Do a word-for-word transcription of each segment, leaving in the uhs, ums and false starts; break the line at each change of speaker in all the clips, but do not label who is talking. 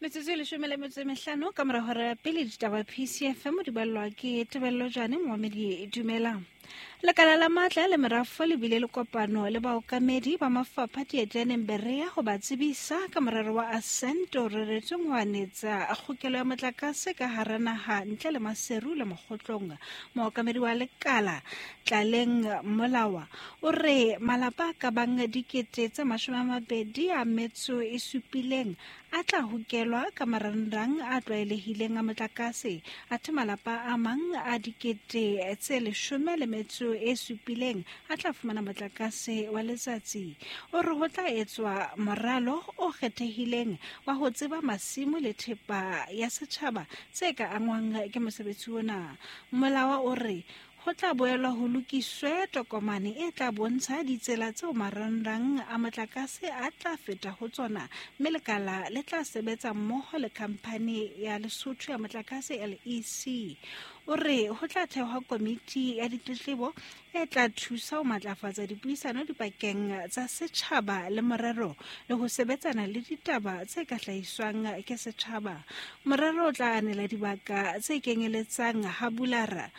Metsotso e leshome le metso e mehlano ka mora hora ya pele ditaba P C F M di ballwa ke Tebello Jane Moamedi. Dumelang. Lekala la matla le merafo le bile le kopano le baokamedi ba mafapha Dietjaneng Berea ho ba tsebisa ka morero wa Ascent o reretsweng ho anetsa kgokelo ya motlakase ka hara naha ntle le Maseru le Mokgotlong. Mookamedi wa lekala Tlaleng Molawa o re malapa a ka bang dikete tse mashome a mabedi a metso e supileng a tla hokelwa ka marangrang a tlwaelehileng a motlakase, athe malapa a mang a dikete tse leshome le metso e supileng a tla fumana motlakase wa letsatsi. O re ho tla etswa moralo o kgethehileng wa ho tseba masimo le thepa ya setjhaba tse ka angwang ke mosebetsi ona. Molawa o re ho tla boelwa ho lokiswe tokomane e tla bontsha ditsela tseo marangrang a motlakase a tla feta ho tsona, mme lekala le tla sebetsa mmoho le khamphani ya Lesotho ya motlakase L E C. O re ho tla thehwa komiti ya ditletlebo e tla thusa ho matlafatsa dipuisano dipakeng tsa setjhaba le morero le ho sebetsana le ditaba tse ka hlahiswang ke setjhaba. Morero o tla anela dibaka tse kenyeletsang ha Bulara,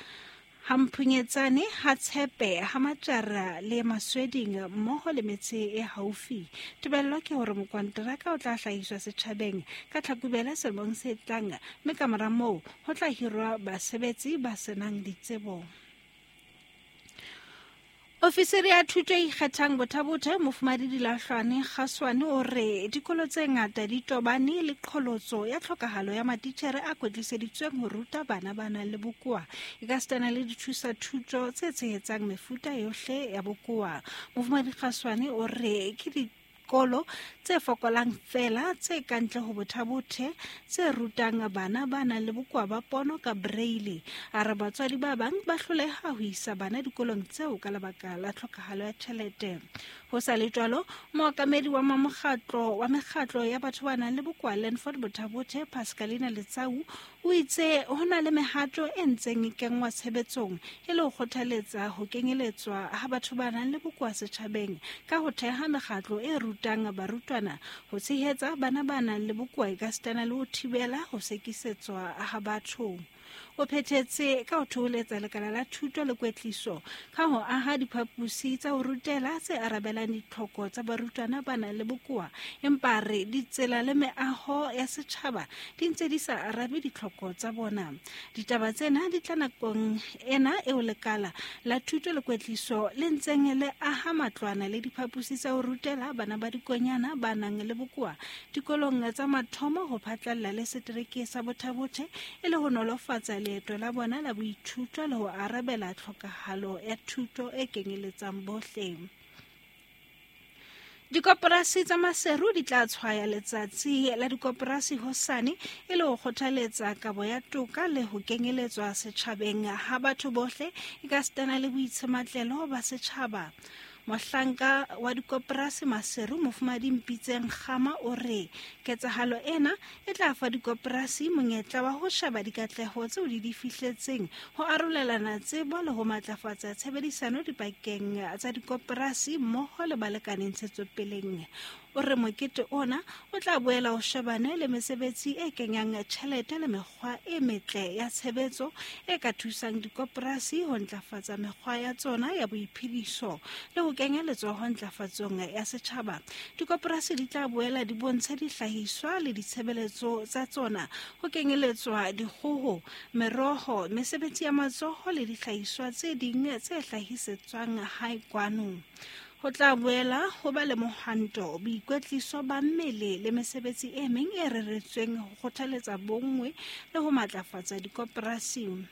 ha Mphunyetsane, ha Tshepe, ha Matjara le Masweding mmoho le metse e haufi. Tebello ke hore mokonteraka o tla hlahiswa setjhabeng ka Tlhakubele selemong se tlang, mme ka mora moo ho tla hirwa basebetsi ba senang ditsebo. Ofisiri ya thuto e ikgethang Botha-Bothe Mofumadi Dilahlwane Kgaswane o re dikolo tse ngata di tobane le qholotso ya tlhokahalo ya matitjhere a kwetliseditsweng ho ruta bana ba nang le bokowa, ekasitana le dithusa thuto tse tshehetsang mefuta yohle ya bokowa. Mofumadi Kgaswane o re ke dikolo tse fokolang feela tse kantle ho Botha-Bothe tse rutang bana ba nang le bokowa ba pono ka braille. A re batswadi ba bang ba hloleha ho isa bana dikolong tseo ka lebaka la tlhokahalo ya tjhelete. Ho sa le jwalo, mookamedi wa mokgatlo wa mekgatlo ya batho ba nang le bokowa Landford Botha-Bothe Pascalina Letsau o itse ho na le mehato e ntseng e kenngwa tshebetsong e le ho kgothaletsa ho kenyeletswa ha batho ba nang le bokowa setjhabeng ka ho theha mekgatlo e rutang barutwana ho tshehetsa bana ba nang le bokowa ekasitana le ho thibela ho sekisetswa ha batho. O phethetse ka ho thoholetsa lekala la thuto le kwetliso ka ho aha diphaposi tsa ho rutela tse arabelang ditlhoko tsa barutwana ba nang le bokowa, empa re ditsela le meaho ya setjhaba di ntse di sa arabe ditlhoko tsa bona. Ditaba tsena di tla nakong ena eo lekala la thuto le kwetliso le ntseng le aha matlwana le diphaposi tsa ho rutela bana ba dikonyana ba nang le bokowa dikolong tsa mathomo ho phatlalla le setereke sa Botha-Bothe e le ho nolofatsa leeto la bona la boithuto le ho arabela tlhokahalo ya thuto e kenyeletsang bohle. Dikoporasi tsa Maseru di tla tshwaya letsatsi la dikoporasi hosane e le ho kgothaletsa kabo ya toka le ho kenyeletswa setjhabeng ha batho bohle ekasitana le boitshematlelo ba setjhaba. Mohlanka wa dikoporasi Maseru Mofumadi Mpitseng Kgama o re ketsahalo ena e tla fa dikoporasi monyetla wa ho sheba dikatleho tseo di di fihletseng, ho arolelana tsebo le ho matlafatsa tshebedisano dipakeng tsa dikoporasi mmoho le balekane ntshetsopeleng. O re mokete ona o tla boela o shebane le mesebetsi e kenyang tjhelete le mekgwa e metle ya tshebetso e ka thusang dikoporasi ho ntlafatsa mekgwa ya tsona ya boiphediso le ho kenya letsoho ntlafatsong ya setjhaba. Dikoporasi di tla boela di bontshe dihlahiswa le ditshebeletso tsa tsona ho kenyeletswa dikgoho, meroho, mesebetsi ya matsoho le dihlahiswa tse ding tse hlahisetswang hae kwano. Ho tla boela ho ba le mohwanto, boikwetliso ba mmele le mesebetsi e meng e reretsweng ho kgothaletsa bonngwe le ho matlafatsa dikoporasi.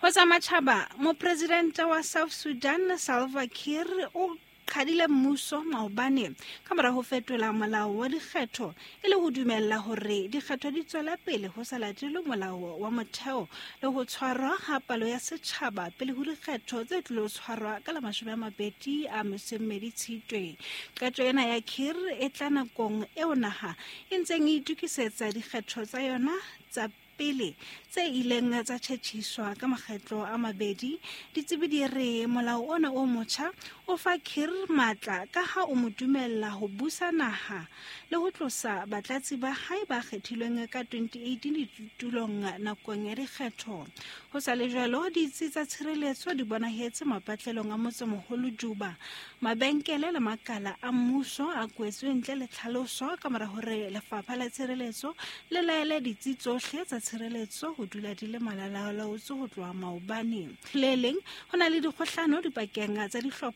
Ho tsa matjhaba, mopresidente wa South Sudan Salva Kiir o qhadile mmuso maobane ka mora ho fetola molao wa dikgetho e le ho dumella hore dikgetho di tswela pele ho sa latelwe molao wa motheo le ho tshwarwa ha palo ya setjhaba pele ho dikgetho tse tlilo tshwarwa ka la mashome a mabedi a metso e mmedi Tshitwe. Qeto ena ya Kiir e tla nakong eo naha e ntseng e itokisetsa dikgetho tsa yona tsa pele tse ileng tsa tjhetjhiswa ka makgetlo a mabedi. Ditsebi di re molao ona o motjha o fa Kiir matla ka ha o mo dumella ho busa naha le ho tlosa batlatsi ba hae ba kgethilweng ka twenty eighteen ditulong nakong ya dikgetho. Ho sa le jwalo, ditsi tsa tshireletso di bonahetse mapatlelong a motsemoholo Juba. Mabenkele le makala a mmuso a kwetswe ntle le tlhaloso ka mora hore lefapha la tshireletso le laele ditsi tsohle tsa tshireletso ho dula di le malalalaotswe ho tloha maobane. Le leng, ho na le dikgohlano dipakeng tsa dihlopha